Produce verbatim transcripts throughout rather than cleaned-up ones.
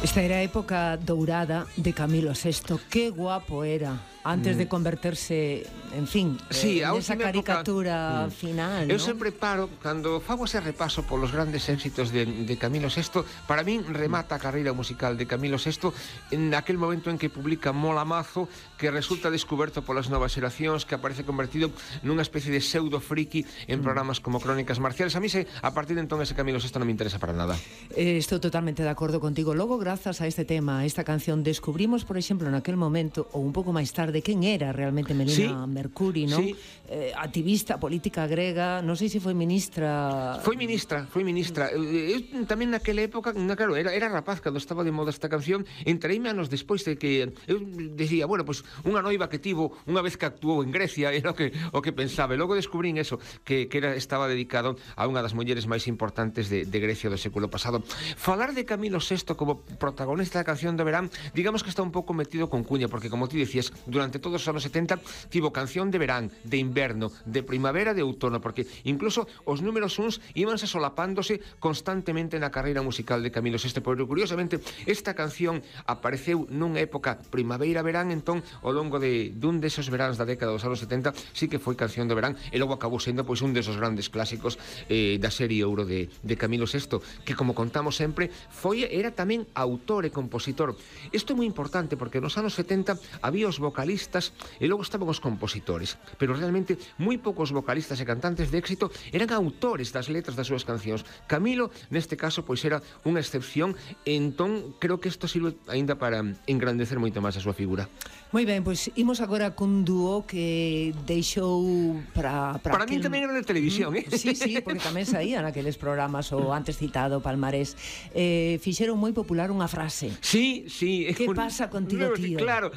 Esta era a época dourada de Camilo sexto. Qué guapo era antes de converterse, en fin, sí, eh, nesa caricatura época, final, eu ¿no? sempre paro, cando fago ese repaso polos grandes éxitos de, de Camilo sexto, para min remata a carreira musical de Camilo sexto en aquel momento en que publica Mola Mazo, que resulta descoberto polas novas xeracións, que aparece convertido nunha especie de pseudo friki en programas como Crónicas Marciales. A mí, se, a partir de entón, ese Camilo sexto non me interesa para nada. Eh, estou totalmente de acordo contigo. Logo, grazas a este tema, a esta canción, descubrimos, por exemplo, naquel momento, ou un pouco máis tarde, quen era realmente Melina sí, Mercuri, non? Sí. Eh, activista política grega, non sei se foi ministra... Foi ministra, foi ministra. Eu, eu tamén naquela época, na, claro, era, era rapaz cando estaba de moda esta canción, entreime anos despois de que eu decía, bueno, pues unha noiva que tivo unha vez que actuou en Grecia, era o que, o que pensaba, e logo descubrín eso, que, que era, estaba dedicado a unha das mulleres máis importantes de, de Grecia do século pasado. Falar de Camilo sexto como protagonista da canción de verán, digamos que está un pouco metido con cuña, porque como ti decías, durante todos os anos setenta tivo canción de verán, de inverno, de primavera, de outono, porque incluso os números uns íbanse solapándose constantemente na carreira musical de Camilo sexto, porque curiosamente esta canción apareceu nunha época primavera-verán, entón ao longo de dun desos veráns da década dos anos setenta sí que foi canción de verán, e logo acabou sendo pois un desos grandes clásicos eh, da serie Ouro de, de Camilo sexto, que como contamos sempre, foi era tamén autor e compositor. Isto é moi importante porque nos anos setenta había os vocalistas e logo estaban os compositores, pero realmente moi poucos vocalistas e cantantes de éxito eran autores das letras das súas cancións. Camilo, neste caso, pois era unha excepción, e entón creo que isto sirve aínda para engrandecer moito máis a súa figura. Moi ben, pois imos agora cun dúo que deixou para... Para, para aquel... min tamén era de televisión, eh? Sí, sí, porque tamén saían aqueles programas, o antes citado Palmarés. Eh, fixeron moi popular unha frase. Sí, sí. Que pasa contigo, tío? Claro,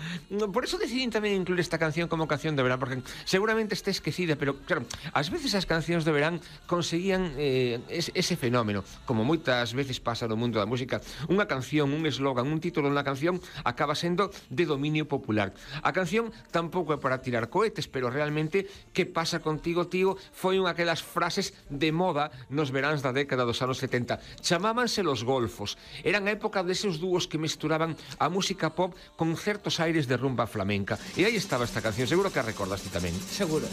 por eso decidín tamén incluir esta canción como canción de verán, porque seguramente está esquecida, pero claro, ás veces as cancións de verán conseguían eh, ese fenómeno, como moitas veces pasa no mundo da música. Unha canción, un eslogan, un título na canción acaba sendo de dominio popular. A canción tampouco é para tirar cohetes, pero realmente que pasa contigo, tío, foi unha aquelas frases de moda nos veráns da década dos anos setenta. Chamábanse los golfos. Eran a época deses dúos que mesturaban a música pop con certos aires de rumba flamenca. E aí estaba esta canción, seguro que a recordaste tamén. Seguro.